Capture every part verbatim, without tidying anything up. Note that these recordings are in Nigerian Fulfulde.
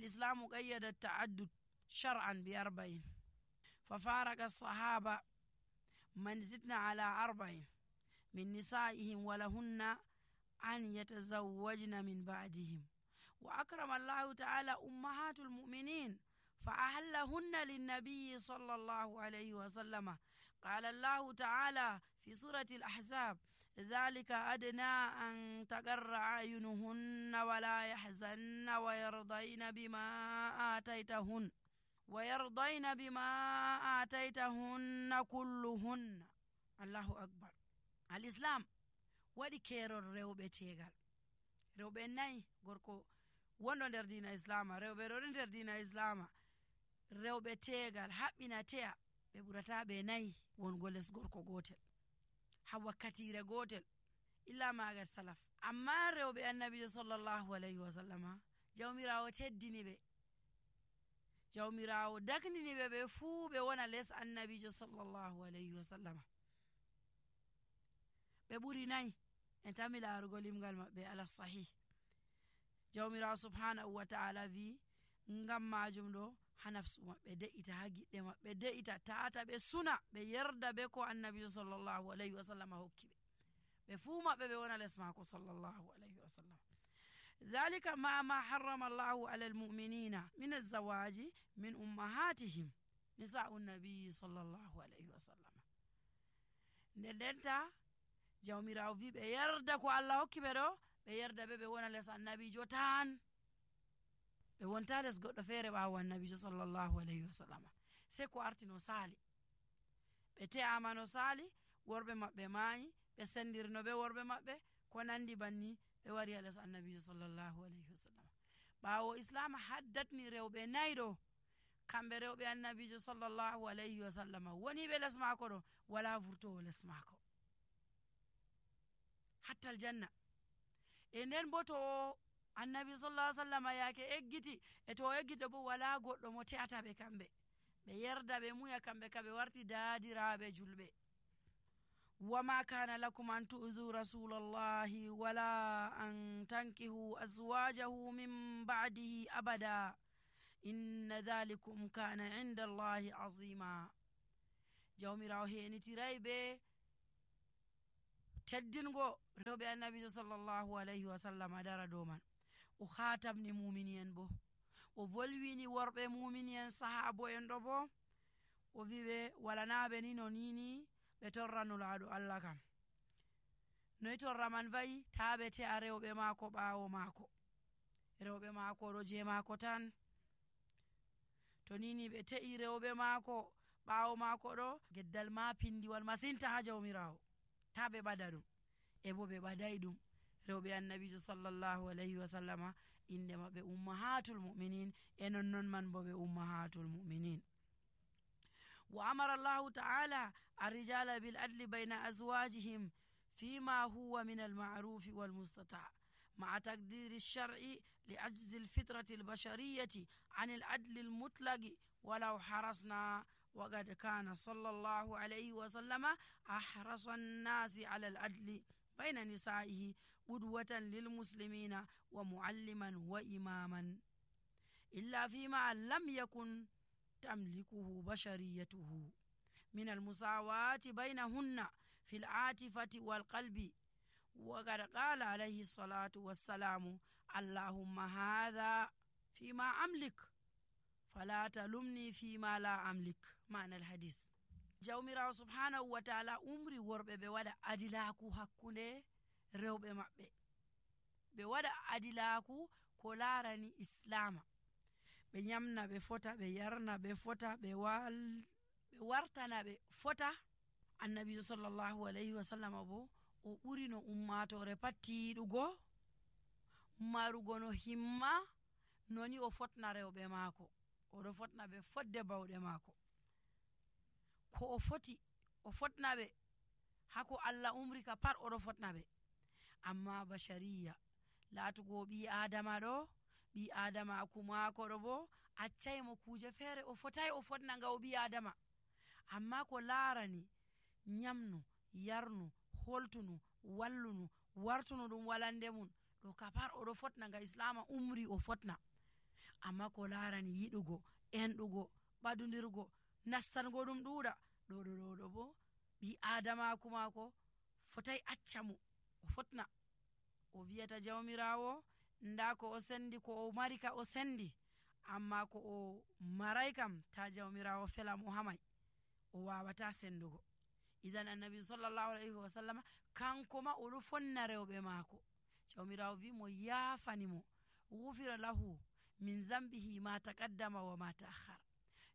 والإسلام قيد التعدد شرعا بأربعين ففارق الصحابة من زدنا على أربعين من نسائهم ولهن أن يتزوجن من بعدهم. وأكرم الله تعالى أمهات المؤمنين فأحلهن للنبي صلى الله عليه وسلم. قال الله تعالى في سورة الأحزاب: ذلك أدنى أن تقر أعينهن ولا يحزن ويرضين بما آتيتهن ويرضين بما آتيتهن كلهن. الله أكبر. الإسلام waɗi keerol rewɓe teegal. rewɓe nayi gorko wondo nder diina islama, rewɓe ɗo nder diina islama, rewɓe teegal haɓɓina teya ɓe ɓurata ɓe nayi wongo les gorko gotel ha wakkatire gotel illa magal salaf. amma rewɓe annabijo sallallahu alayhi wa sallama jawmirawo teddini ɓe, jawmirawo daknini ɓe ɓe fuu ɓe wona les annabijo sallallahu alayhi wa sallama. ɓe ɓuri nayi en tami laarugo limgal maɓɓe ala sahih. jawmirawo subhanahu wa ta'ala wi ngam majum ɗo ha nafsu maɓɓe de'ita, ha giɗɗe maɓɓe de'ita, tata ɓe suna ɓe yerda be ko annabijo sallallahu alayhi wa sallam hokki ɓe, ɓe fuu maɓɓe ɓe wona les mako sallallahu alayhi wa sallam. dhalika ma ma harrama allahu ala almu'minina min alzawaji min ummahatihim nisa'u nabiyi sallallahu alayhi wa sallam. nden ndenta jawmirawo wi ɓe yerda ko Allah hokki ɓe ɗo, ɓe yerda ɓe ɓe wona les annabijo tan, ɓe wonta les goɗɗo feere ɓawo annabijo sallallahu alayhi wa sallam. sei ko arti no saali, ɓe te'ama no saali, worɓe maɓɓe maayi, ɓe sendirno ɓe worɓe maɓɓe ko nandi banni, ɓe wari a les annabijo sallallahu alayhi wa sallam. ɓawo islam haddatni rewɓe nayi ɗo, kamɓe rewɓe annabijo sallallahu alayhi wa sallam woni ɓe les maako ɗo, wala vurtowo les maako hattal janna. e nden bo to annabi sallallahu alaihi wasallam yaake eggiti e to eggito bo wala goɗɗo mo te'ata ɓe kamɓe, ɓe yerda ɓe muya kamɓe ka ɓe warti daadiraɓe julɓe. wama kana lakum an tu'dhu rasulallahi wala an tankihu azwajahu min ba'dihi abada inna dhalikum kana inda allahi azima. jawmirawo henitiray ɓe teddingo rewɓe annabijo sallallahu alayhi wa sallam dara dow man. o hatamni muminiyen bo, o volwini worɓe muminiyen sahabo en ɗo bo, o wiɓe walanaɓe ni no nini ɓe torranulaɗo Allah kam. noyi torra man wayi ta ɓe te'a rewɓe maako ɓawo maako, rewɓe maako ɗo je maako tan. to nini ɓe te'i rewɓe maako ɓawo maako ɗo, geddal ma pindiwal masinta ha jawmirawo, ta ɓe ɓada ɗum. e bo ɓe ɓaday ɗum. rewɓe annabijo sallallahu alayhi wa sallama inde maɓɓe ummahatul mu'minin, e non non man bo ɓe ummahatul mu'minin. wa amara allahu ta'ala arrijala bil adli bayna azwajihim fima huwa min alma'rufi wal mustata' مع تقدير الشرع لعجز الفطرة البشرية عن العدل المطلق ولو حرصنا. وقد كان صلى الله عليه وسلم أحرص الناس على العدل بين نسائه قدوة للمسلمين ومعلما وإماما، إلا فيما لم يكن تملكه بشريته من المساواة بينهن في العاطفة والقلب. وقد قال عليه الصلاة والسلام: اللهم هذا فيما أملك فلا تلمني فيما لا أملك. معنى الحديث. jawmirawo subhanahu wa ta'ala umri worɓe ɓe waɗa adilaku hakkunde rewɓe maɓɓe, ɓe waɗa adilaku ko larani islama, ɓe nyamna ɓe fota, ɓe yarna ɓe fota, ɓe wal ɓe wartana ɓe fota. annabijo sallallahu alayhi wa sallam bo o ɓuri no ummatore pattiɗugo marugo no himma noni o fotna rewɓe maako, oɗo fotna ɓe fodde bawɗe maako, ko o foti o fotna ɓe hako Allah umri ka pat oɗo fotna ɓe. amma bashariya laatugo ɓi adama ɗo, ɓi adama akumaako ɗo bo accaymo kuje feere o fotai o fotna nga o ɓi adama. amma ko larani nyamnu, yarnu, holtunu, wallunu, wartunu ɗum walande mun ɗo ka pat oɗo fotna nga islama umri o fotna. amma ko larani yiɗugo enɗugo ɓadudirgo nastango ɗum ɗuuɗa ɗo ɗo ɗo ɗo bo ɓi adamaku maako fotai acca mo o fotna o wiyata jawmirawo nda ko o sendi ko o mari ka o sendi, amma ko o marai kam ta jawmirawo fela mo hamai o wawata sendugo. idan annabi sallallahu alaihi wa sallama kanko ma oɗo fonna rewɓe maako, jawmirawo wi mo yafani mo gufira lahu min zambihi ma taqaddama wa ma ta'akhkhara,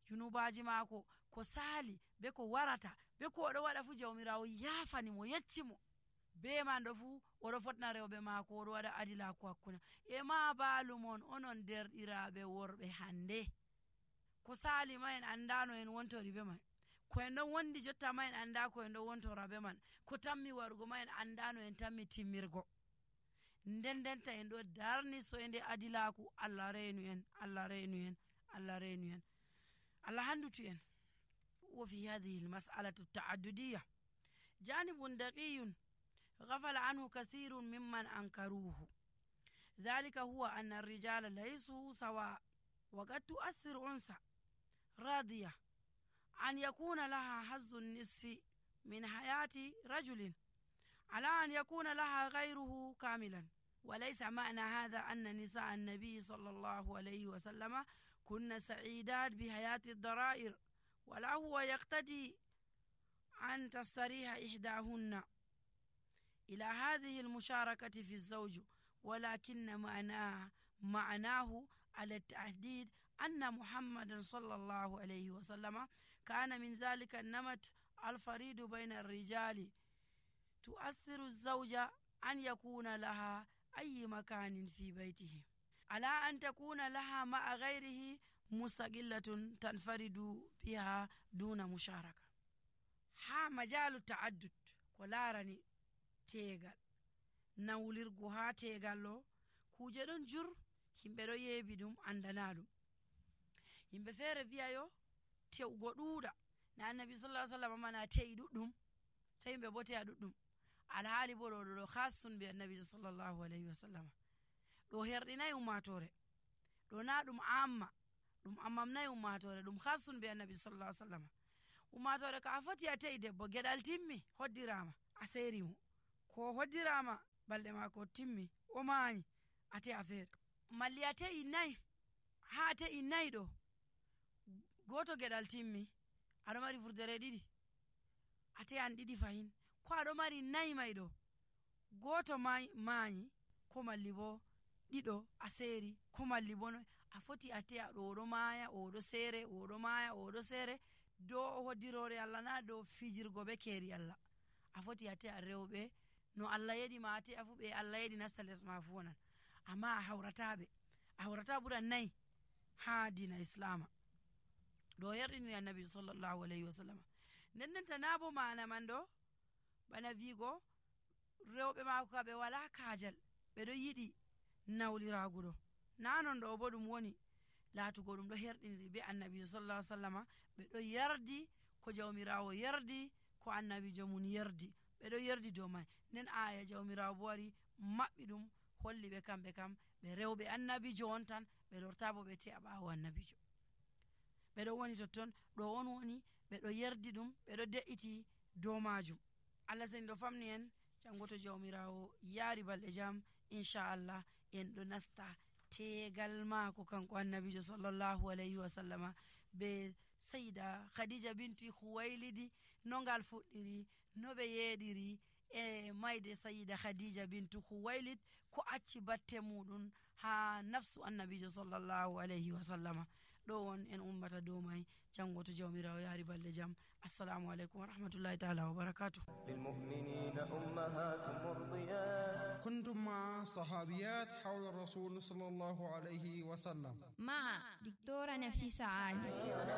junubaji maako ko sali be ko warata be ko oɗo waɗa fu jawmirawo yafani mo yecci mo, be man ɗo fu oɗo fotna rewɓe maako oɗo waɗa adilaku hakkuna e ma balumon onon derɗiraɓe worɓe hande ko sali ma en andano en wontori be man, ko en ɗon wondi jotta ma en anda ko en ɗon wontora be man, ko tammi warugo ma en andano en tammi timmirgo, nden denta en ɗo darni soyde adilaku. Allah reenu en, Allah reenu en, Allah reenu en, Allah handutu en. وفي هذه المسألة التعددية جانب دقي غفل عنه كثير ممن أنكروه، ذلك هو أن الرجال ليسوا سواء، وقد تؤثر أنثى راضية أن يكون لها حظ النصف من حياة رجل على أن يكون لها غيره كاملا، وليس معنى هذا أن نساء النبي صلى الله عليه وسلم كن سعيدات بحياة الضرائر، ولا هو يقتدي أن تستريح إحداهن إلى هذه المشاركة في الزوج، ولكن معناه معناه على التحديد أن محمد صلى الله عليه وسلم كان من ذلك النمط الفريد بين الرجال، تؤثر الزوجة أن يكون لها أي مكان في بيته على أن تكون لها مع غيره مستقلة تنفرد بها دون مشاركة. ها مجال التعدد كلارني tegal nawlirgo ha tegal lo kuje ɗon jur himɓe ɗo yeebi ɗum andana ɗum, himɓe feere wiyayo tewgo ɗuuɗa na annabi sallallahu alaihi wasallam mana te'i ɗuɗɗum sai himɓe bo te'a ɗuɗɗum, alhaali bo ɗo ɗo khassun be annabi sallallahu alaihi wasallam, ɗo herɗinayi ummatore, ɗo na ɗum amma ɗum ammamnayi ummatore, ɗum khassun be annabi sallallahu alaihi wasallam. ummatore ka a foti a te'i debbo geɗal timmi hoddirama a serimo, ko hoddirama balɗe mako timmi o mayi a te'a feere, malli a te'i nayi ha a te'i nayi ɗo goto geɗal timmi aɗo mari furdere ɗiɗi a te'an ɗiɗi fahin, ko aɗo mari nayi may ɗo goto mayi ko malli bo ɗiɗo a seeri, ko malli bo noy a foti a te'a ɗo oɗo maya oɗo seere oɗo maya oɗo seere dow hoddirore Allah na dow fijirgo be keeri Allah, a foti a te'a rewɓe no Allah yeɗi ma a te'a fu ɓe Allah yeɗi nasta les ma fu wonan, amma a hawrataɓe a hawrata ɓura nayi ha dina islama ɗo herɗini annabi sallallahu alaihi wasallam. nden ndenta na bo mana man ɗo bana wigo rewɓe mako ka ɓe wala kajal ɓeɗo yiɗi nawliragu ɗo, na non ɗo bo ɗum woni latugo ɗum ɗo herɗiniri be annabi sallallahu alaihi wasallama, ɓeɗo yardi ko jawmirawo yardi ko annabijo mun yardi, ɓeɗo yardi dow mai, nden aya jawmirawo bo wari maɓɓi ɗum holli ɓe kamɓe kam ɓe rewɓe annabijo on tan, ɓe lorta bo ɓe te'a ɓawo annabijo, ɓeɗo woni totton ɗo on woni ɓeɗo yardi ɗum ɓeɗo de'iti dow majum. Allah seni ɗo famni en jango to jawmirawo yaari balɗe jam inchallah en ɗo nasta tegal maako kanko annabijo sallallahu alaihi wasallama be sayida khadija binti khuwailidi no ngal fuɗɗiri, no ɓe yeɗiri e mayde sayida khadija bintu khuwailid ko acci batte muɗum ha nafsu annabijo sallallahu alaihi wasallama. ɗo won en ummata dow mai jango to jawmirawo yaari balɗe jam. assalamu alaikum wa rahmatullahi ta'ala wa barakatuh. للمؤمنين أمهات مرضيات كنتم مع صحابيات حول الرسول صلى الله عليه وسلم مع دكتورة نفيسة عالي.